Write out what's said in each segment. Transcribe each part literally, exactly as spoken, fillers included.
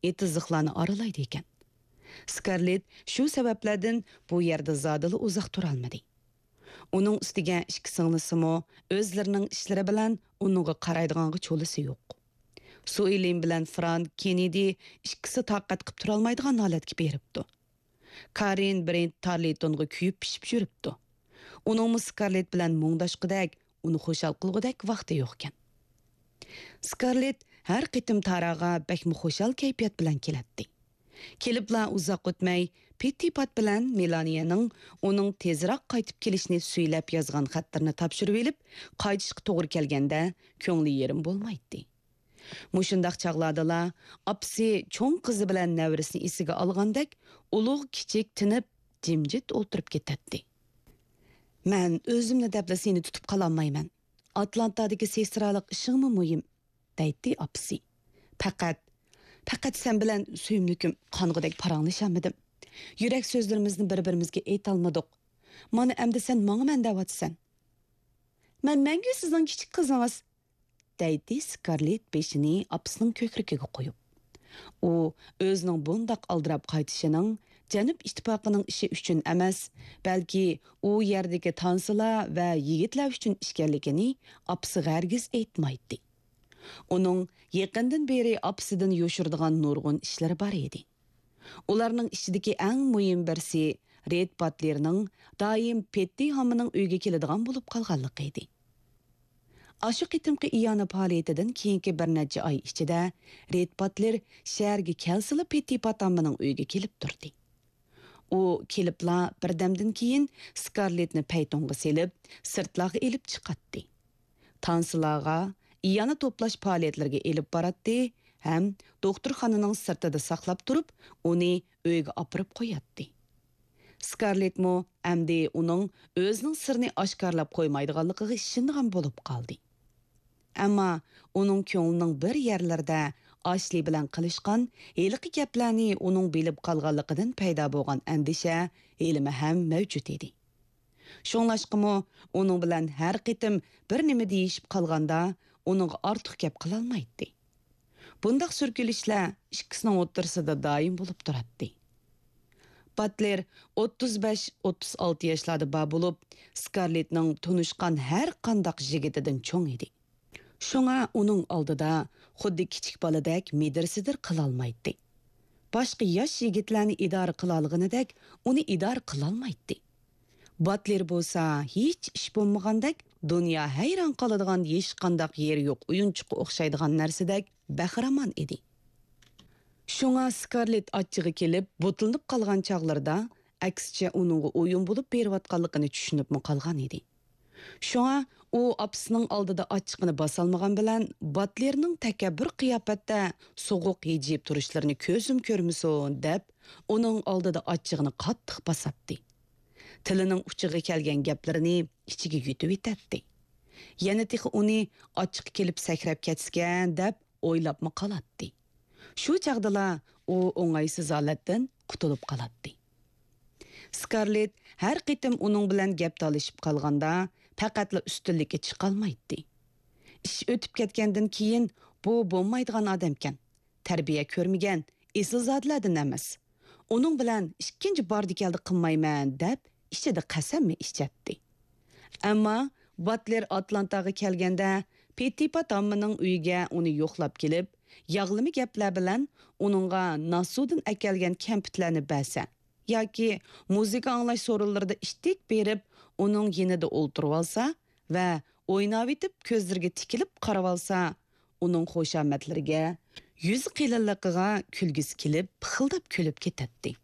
ئېتىزلىقلارنى ئارىلايدىكەن. سكارلېت شۇ سەۋەبلەردىن بۇ يەردە زادىلا ئۇزاق تۇرالمىدى. ئۇنىڭ ئۈستىگە ئىككى سىڭلىسىمۇ ئۆزلىرىنىڭ ئىشلىرى بىلەن ئۇنىڭغا قارايدىغانغا چولىسى يوق. سۇئېلىن بىلەن فرانك كېننېدى ئىككىسى تاقەت قىپ تۇرالمايدىغان ھالەتكە بېرىپتۇ. كارىن برېنت تارلىتونغا كۆيۈپ پىشىپ يۈرۈپتۇ. ئۇنىڭمۇ سكارلېت بىلەن مۇڭداشقۇدەك، ئۇنى خۇشال قىلغۇدەك ۋاقتى يوقكەن. سكارلېت ھەر قېتىم تاراغا بەكمۇ خۇشال كەيپىيات بىلەن كېلەتتى. كېلىپلا ئۇزاق ئۆتمەي، پېتتىپات بىلەن مېلانىيەنىڭ ئۇنىڭ تېزراق قايتىپ كېلىشىنى سۈيلەپ يازغان خەتلىرىنى تاپشۇرۇۋېلىپ، قايتىشقا توغرا كەلگەندە، كۆڭلى يېرىم بولمايتتى. مۇشۇنداق چاغلاردىلا ئاپىسى چوڭ قىزى بىلەن نەۋرىسىنى ئېسىگە ئالغاندەك، ئۇلۇغ كىچىك تىنىپ، جىمجىت ئولتۇرۇپ كېتەتتى. «مەن ئۆزۈمنى دەپلا سېنى تۇتۇپ قالالمايمەن. ئاتلانتادىكى سېھرايلىق ئىشىڭمۇ مۇھىم»، دەيتتى ئاپىسى. «پەقەت، پەقەت سەن بىلەن سۆيۈملۈكۈم قانغۇدەك پاراڭلىشالمىدىم. يۈرەك سۆزلىرىمىزنى بىر-بىرىمىزگە ئېيتالمىدۇق. مانا ئەمدى سەن ماڭىمەن دەۋاتىسەن. مەن مەڭگۈ سىزنىڭ كىچىك قىزىڭىز.» دەيتتى سكارلېت بېشىنى ئاپىسىنىڭ كۆكرىكىگە قويۇپ. ئۇ ئۆزىنىڭ بۇنداق ئالدىراپ قايتىشىنىڭ جەنۇب ئىتتىپاقىنىڭ ئىشى ئۈچۈن ئەمەس، بەلكى ئۇ يەردىكى تانسىلار ۋە يىگىتلەر ئۈچۈن ئىكەنلىكىنى ئاپىسىغا ھەرگىز ئېيتمايتتى. ئۇنىڭ يېقىندىن بېرى ئاپىسىدىن يوشۇرىدىغان نۇرغۇن ئىشلىرى بار ئىدى. ئۇلارنىڭ ئىچىدىكى ئەڭ مۇھىم بىرسى رېد باتلېرنىڭ دائىم پېتتى ھاممىنىڭ ئۆيىگە كېلىدىغان بولۇپ قالغانلىقى ئىدى. ئاشۇ قېتىمقى ئىئانە پائالىيىتىدىن كېيىنكى بىر نەچچە ئاي ئىچىدە رېد باتلېر شەھەرگە كەلسىلا پېتتىپات ھاممىنىڭ ئۆيىگە كېلىپ تۇردى. ئۇ كېلىپلا بىردەمدىن كېيىن سكارلېتنى پەيتۇنغا سېلىپ، سىرتلارغا ئېلىپ چىقاتتى. تانسىلارغا، ئىئانە توپلاش پائالىيەتلىرىگە ئېلىپ باراتتى ھەم دوختۇرخانىنىڭ سىرتىدا ساقلاپ تۇرۇپ، ئۇنى ئۆيىگە ئاپىرىپ قوياتتى. سكارلېتمۇ ئەمدى ئۇنىڭ ئۆزىنىڭ سىرىنى ئاشكارىلاپ قويمايدىغانلىقىغا ئىشىنىدىغان بولۇپ قالدى. ئەمما ئۇنىڭ كۆڭلىنىڭ بىر يەرلىرىدە ئاشلى بىلەن قىلىشقان ھېلىقى گەپلەرنى ئۇنىڭ بىلىپ قالغانلىقىدىن پەيدا بولغان ئەندىشە ھېلىمۇ ھەم مەۋجۇت ئىدى. شۇڭلاشقىمۇ ئۇنىڭ بىلەن ھەر قېتىم بىر نېمە دېيىشىپ قالغاندا، ئۇنىڭغا ئارتۇق گەپ قىلالمايتتى. بۇنداق سۈركىلىشلەر ئىككىسىنىڭ ئوتتۇرىسىدا دائىم بولۇپ تۇراتتى. باتلېر ئوتتۇز بەش، ئوتتۇز ئالتە ياشلاردا بار بولۇپ، سكارلېتنىڭ تونۇشقان ھەر قانداق يىگىتىدىن چوڭ ئىدى. شۇڭا ئۇنىڭ ئالدىدا خۇددى كىچىك بالىدەك مىدىر-سىدىر قىلالمايتتى. باشقا ياش يىگىتلەرنى ئىدارە قىلالىغىنىدەك ئۇنى ئىدارە قىلالمايتتى. باتلېر بولسا ھېچ ئىش بولمىغاندەك، دۇنيا ھەيران قالىدىغان ھېچقانداق يېرى يوق ئويۇنچۇققا ئوخشايدىغان نەرسىدەك بەخىرامان ئىدى. شۇڭا سكارلېت ئاچچىقى كېلىپ، بۇتۇلىنىپ قالغان چاغلىرىدا، ئەكسىچە ئۇنىڭغا ئويۇن بولۇپ بېرىۋاتقانلىقىنى چۈشىنىپمۇ قالغان ئىدى. شۇڭا ئۇ ئاپىسىنىڭ ئالدىدا ئاچچىقىنى باسالمىغان بىلەن، باتلېرنىڭ تەكەببۇر قىياپەتتە سوغۇق ھىجىيىپ تۇرۇشلىرىنى كۆزۈم كۆرمىسۇن دەپ، ئۇنىڭ ئالدىدا ئاچچىقىنى قاتتىق باساتتى. تىلىنىڭ ئۇچىغا كەلگەن گەپلىرىنى ئىچىگە يۇتۇۋېتەتتى. يەنە تېخى ئۇنى ئاچچىقى كېلىپ سەكرەپ كەتسىكەن دەپ ئويلاپمۇ قالاتتى. شۇ چاغدىلا ئۇ ئوڭايسىز ھالەتتىن قۇتۇلۇپ قالاتتى. سكارلېت ھەر قېتىم ئۇنىڭ بىلەن گەپ تالىشىپ قالغاندا، پەقەتلا ئۈستۈنلۈككە چىقالمايتتى. ئىش ئۆتۈپ كەتكەندىن كېيىن، بۇ بولمايدىغان ئادەمكەن. تەربىيە كۆرمىگەن، ئېسىلزادىلەردىن ئەمەس. ئۇنىڭ بىلەن ئىككىنچى باردى-كەلدى قىلمايمەن، دەپ ئىچىدە قەسەممۇ ئىچەتتى. ئەمما باتلېر ئاتلانتاغا كەلگەندە، پېتتىپات ھاممىنىڭ ئۆيىگە ئۇنى يوقلاپ كېلىپ، ياغلىما گەپلەر بىلەن ئۇنىڭغا ناسۇدىن ئەكەلگەن كەمپۈتلەرنى بەرسە ياكى مۇزىكا ئاڭلاش سورۇنلىرىدا ئىتتىك بېرىپ، ئۇنىڭ يېنىدا ئولتۇرۇۋالسا ۋە ئويناۋېتىپ كۆزلىرىگە تىكىلىپ قارىۋالسا، ئۇنىڭ خۇشامەتلىرىگە، يۈز قېلىنلىقىغا كۈلگۈسى كېلىپ، پىخىلداپ كۈلۈپ كېتەتتى.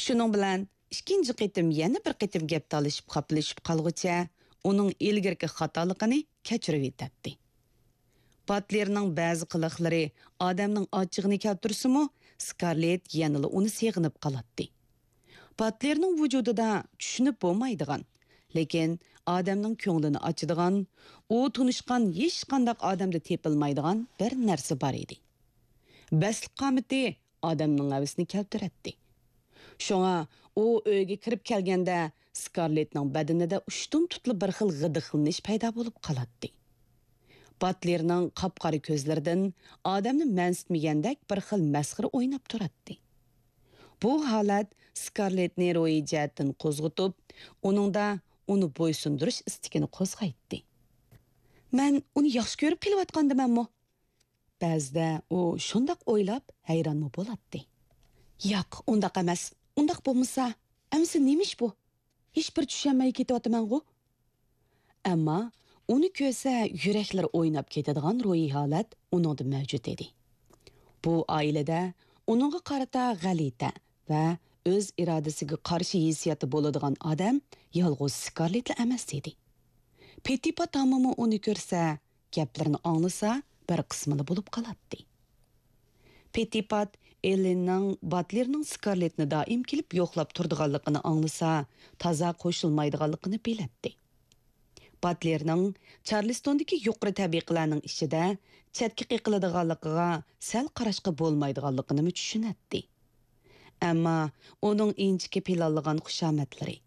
شۇنىڭ بىلەن ئىككىنچى قېتىم يەنە بىر قېتىم گەپ تالىشىپ خاپىلىشىپ قالغۇچە ئۇنىڭ ئىلگىرىكى خاتالىقىنى كەچۈرۈۋېتەتتى. باتلېرنىڭ بەزى قىلىقلىرى ئادەمنىڭ ئاچچىقىنى كەلتۈرسىمۇ، سكارلېت يەنىلا ئۇنى سېغىنىپ قالاتتى. باتلېرنىڭ ۋۇجۇدىدا چۈشىنىپ بولمايدىغان، لېكىن ئادەمنىڭ كۆڭلىنى ئاچىدىغان، ئۇ تونۇشقان ھېچقانداق ئادەمدە تېپىلمايدىغان بىر نەرسە بار ئىدى. بەسلىك قامىتى ئادەمنىڭ ھەۋىسىنى كەلتۈرەتتى. شۇڭا ئۇ ئۆيگە كىرىپ كەلگەندە، سكارلېتنىڭ بەدىنىدە ئۇشتۇمتۇتلا بىر خىل غىدىقلىنىش پەيدا بولۇپ قالاتتى. باتلېرنىڭ قاپقارا كۆزلىرىدىن ئادەمنى مەنسىتمىگەندەك بىر خىل مەسخىرە ئويناپ تۇراتتى. بۇ ھالەت سكارلېتنى روھىي جەھەتتىن قوزغىتىپ، ئۇنىڭدا ئۇنى بويسۇندۇرۇش ئىستىكىنى قوزغايتتى. مەن ئۇنى ياخشى كۆرۈپ قېلىۋاتقاندىمەنمۇ؟ بەزىدە ئۇ شۇنداق ئويلاپ ھەيرانمۇ بولاتتى. ياق، ئۇنداق ئەمەس. ئۇنداق بولمىسا، ئەمىسە نېمە ئىش بۇ؟ ھېچبىر چۈشەنمەي كېتىۋاتىمەنغۇ؟ ئەمما ئۇنى كۆرسە يۈرەكلىرى ئويناپ كېتىدىغان روھىي ھالەت ئۇنىڭدا مەۋجۇت ئىدى. بۇ ئائىلىدە ئۇنىڭغا قارىتا غەلىتە ۋە ئۆز ئىرادىسىگە قارشى ھېسسىياتى بولىدىغان ئادەم يالغۇز سكارلېتلا ئەمەس ئىدى. پېتتىپات ھامىمۇ ئۇنى كۆرسە، گەپلىرىنى ئاڭلىسا، بىر قىسمىلا بولۇپ قالاتتى. پېتتىپات ئېللېننىڭ باتلېرنىڭ سكارلېتنى دائىم كېلىپ يوقلاپ تۇرىدىغانلىقىنى ئاڭلىسا، تازا قوشۇلمايدىغانلىقىنى بىلەتتى. باتلېرنىڭ چارلىستوندىكى يۇقىرى تەبىقىلەرنىڭ ئىچىدە چەتكە قېقىلىدىغانلىقىغا سەل قاراشقا بولمايدىغانلىقىنىمۇ چۈشىنەتتى. ئەمما ئۇنىڭ ئىنچىكە پىلانلىغان خۇشامەتلىرى،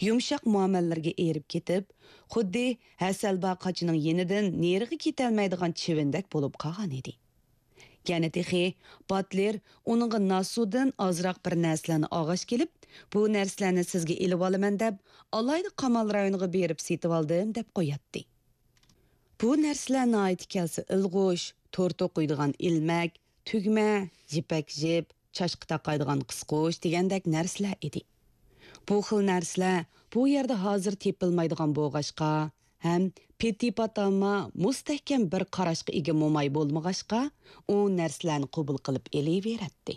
يۇمشاق مۇئامىلىلىرىگە ئېرىپ كېتىپ، خۇددى ھەسەلبا قاچىنىڭ يېنىدىن نېرىغا كېتەلمەيدىغان چىۋىندەك بولۇپ قالغان ئىدى. يەنە تېخى باتلېر ئۇنىڭغا ناسۇدىن ئازراق بىر نەرسىلەرنى ئالغاچ كېلىپ، بۇ نەرسىلەرنى سىزگە ئېلىۋالىمەن دەپ، ئالايدا قامال رايونىغا بېرىپ سېتىۋالدىم دەپ قوياتتى. بۇ نەرسىلەر ناھايىتى كەلسە ئىلغۇش، تور توقۇيدىغان ئىلمەك، تۈگمە، يىپەك جىپ، چاچقا تاقايدىغان قىسقۇچ دېگەندەك نەرسىلەر ئىدى. بۇ خىل نەرسىلەر بۇ يەردە ھازىر تېپىلمايدىغان بولغاچقا، ھەم پېتتىپات ھاما مۇستەھكەم بىر قاراشقا ئىگە موماي بولمىغاچقا، ئۇ نەرسىلەرنى قوبۇل قىلىپ ئېلىۋېرەتتى.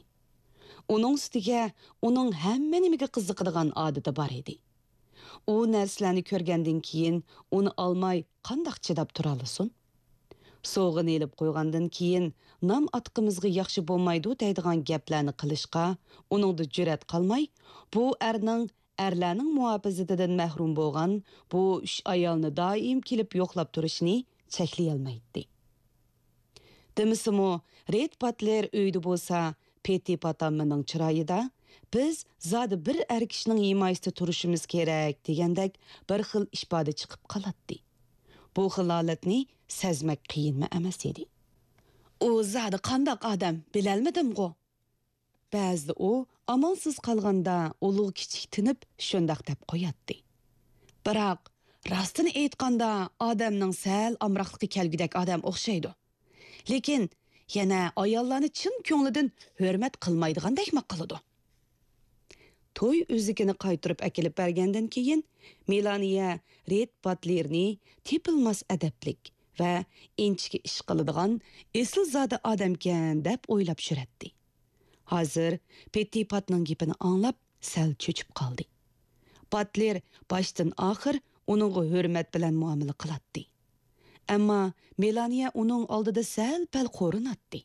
ئۇنىڭ ئۈستىگە ئۇنىڭ ھەممە نېمىگە قىزىقىدىغان ئادىتى بار ئىدى. ئۇ نەرسىلەرنى كۆرگەندىن كېيىن ئۇنى ئالماي قانداق چىداپ تۇرالىسۇن؟ سوۋغىنى ئېلىپ قويغاندىن كېيىن نام ئاتىقىمىزغا ياخشى بولمايدۇ دەيدىغان گەپلەرنى قىلىشقا ئۇنىڭدا جۈرئەت قالماي، بۇ ئەرنىڭ ئەرلەرنىڭ مۇھاپىزىتىدىن مەھرۇم بولغان بۇ ئۈچ ئايالنى دائىم كېلىپ يوقلاپ تۇرۇشىنى چەكلىيەلمەيتتى. دېمىسىمۇ، رېد باتلېر ئۆيدە بولسا، پېتتىپات ھامىنىڭ چىرايىدا، «بىز زادى بىر ئەر كىشىنىڭ ھىمايىسىدە تۇرۇشىمىز كېرەك» دېگەندەك بىر خىل ئىپادە چىقىپ قالاتتى. بۇ خىل ھالەتنى سەزمەك قىيىنمۇ ئەمەس ئىدى. «ئۇ زادى قانداق ئادەم، بىلەلمىدىمغۇ؟» بەزىدە ئۇ ئامالسىز قالغاندا ئۇلۇغ-كىچىك تىنىپ شۇنداق دەپ قوياتتى. بىراق، راستىنى ئېيتقاندا، ئادەمنىڭ سەل ئامراقلىقى كەلگۈدەك ئادەم ئوخشايدۇ. لېكىن يەنە ئاياللارنى چىن كۆڭلىدىن ھۆرمەت قىلمايدىغاندەكمۇ قىلىدۇ. توي ئۈزۈكىنى قايتۇرۇپ ئەكېلىپ بەرگەندىن كېيىن، مېلانىيە رېد باتلېرنى تېپىلماس ئەدەپلىك ۋە ئىنچىكە ئىش قىلىدىغان ئېسىلزادە ئادەمكەن دەپ ئويلاپ يۈرەتتى. ھازىر پېتتىپاتنىڭ گېپىنى ئاڭلاپ سەل چۆچۈپ قالدى. باتلېر باشتىن ئاخىر ئۇنىڭغا ھۆرمەت بىلەن مۇئامىلە قىلاتتى. ئەمما مېلانىيە ئۇنىڭ ئالدىدا سەل-پەل قورۇناتتى.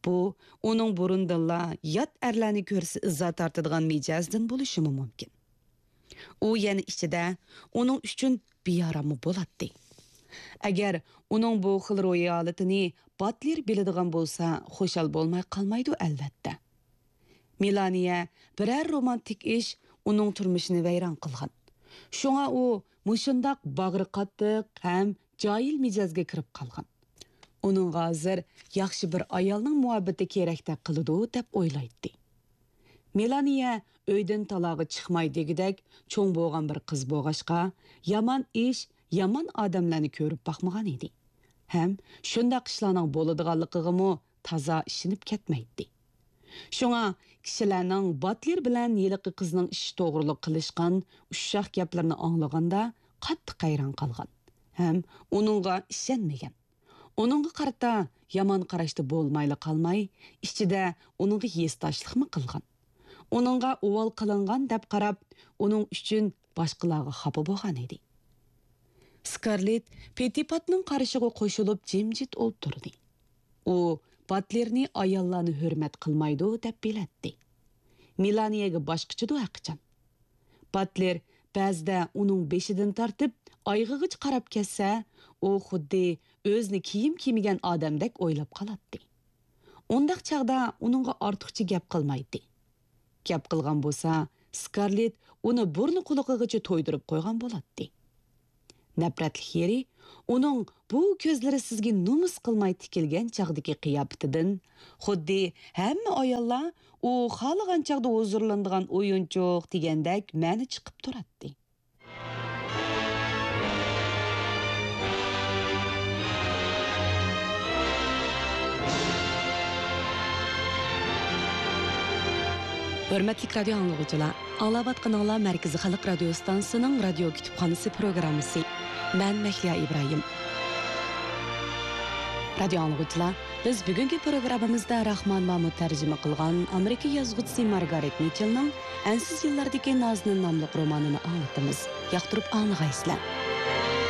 بۇ ئۇنىڭ بۇرۇندىنلا يات ئەرلەرنى كۆرسە ئىزا تارتىدىغان مىجەزدىن بولۇشىمۇ مۇمكىن. ئۇ يەنە ئىچىدە ئۇنىڭ ئۈچۈن بىئاراممۇ بولاتتى. ئەگەر ئۇنىڭ بۇ خىل روھىي ھالىتىنى باتلېر بىلىدىغان بولسا، خۇشال بولماي قالمايدۇ، ئەلۋەتتە. مېلانىيە بىرەر رومانتىك ئىش ئۇنىڭ تۇرمۇشىنى ۋەيران قىلغان. شۇڭا ئۇ مۇشۇنداق باغرى قاتتىق ھەم جاھىل مىجەزگە كىرىپ قالغان. ئۇنىڭغا ھازىر ياخشى بىر ئايالنىڭ مۇھەببىتى كېرەكتەك قىلىدۇ دەپ ئويلايتتى. مېلانىيە ئۆيدىن تالاغا چىقماي دېگۈدەك چوڭ بولغان بىر قىز بولغاچقا، يامان ئىش، يامان ئادەملەرنى كۆرۈپ باقمىغان ئىدى. ھەم شۇنداق ئىشلارنىڭ بولىدىغانلىقىغىمۇ تازا ئىشىنىپ كەتمەيتتى. شۇڭا كىشىلەرنىڭ باتلېر بىلەن ھېلىقى قىزنىڭ ئىشى توغرۇلۇق قىلىشقان ئۇششاق گەپلىرىنى ئاڭلىغاندا قاتتىق ھەيران قالغان ھەم ئۇنىڭغا ئىشەنمىگەن. ئۇنىڭغا قارىتا يامان قاراشتا بولمايلا قالماي، ئىچىدە ئۇنىڭغا ھېسداشلىقمۇ قىلغان. ئۇنىڭغا ئۇۋال قىلىنغان دەپ قاراپ، ئۇنىڭ ئۈچۈن باشقىلارغا خاپا بولغان ئىدى. سكارلېت پېتتىپاتنىڭ قارىشىغا قوشۇلۇپ جىمجىت ئولتۇردى. ئۇ باتلېرنى ئاياللارنى ھۆرمەت قىلمايدۇ دەپ بىلەتتى. مېلانىيەگە باشقىچىدۇ ھەرقاچان. باتلېر بەزىدە ئۇنىڭ بېشىدىن تارتىپ ئايىغىغىچە قاراپ كەتسە، ئۇ خۇددى ئۆزىنى كىيىم كىيمىگەن ئادەمدەك ئويلاپ قالاتتى. ئۇنداق چاغدا ئۇنىڭغا ئارتۇقچە گەپ قىلمايتتى. گەپ قىلغان بولسا، سكارلېت ئۇنى بۇرنى قۇلىقىغىچە تويدۇرۇپ قويغان بولاتتى. نەپرەتلىك يېرى، ئۇنىڭ بۇ كۆزلىرى سىزگە نومۇس قىلماي تىكىلگەن چاغدىكى قىياپىتىدىن، خۇددى ھەممە ئاياللار ئۇ خالىغان چاغدا ھۇزۇرلىنىدىغان ئويۇنچۇق دېگەندەك مەنە چىقىپ تۇراتتى. ھۆرمەتلىك رادىيو ئاڭلىغۇچىلار، ئاڭلاۋاتقىنىڭلار مەركىزىي خەلق رادىيو ئىستانسىسىنىڭ رادىيو كۇتۇپخانىسى پروگراممىسى. مەن مەھلىيا ئىبراھىم. رادىيو ئاڭلىغۇچىلار، بىز بۈگۈنكى پروگراممىمىزدا راخمان مامۇت تەرجىمە قىلغان ئامېرىكا يازغۇچىسى مارگارېت مىچېلنىڭ ئەنسىز يىللاردىكى نازنىن ناملىق رومانىنى ئاڭلىتىمىز. ياقتۇرۇپ ئاڭلىغايسىلەر.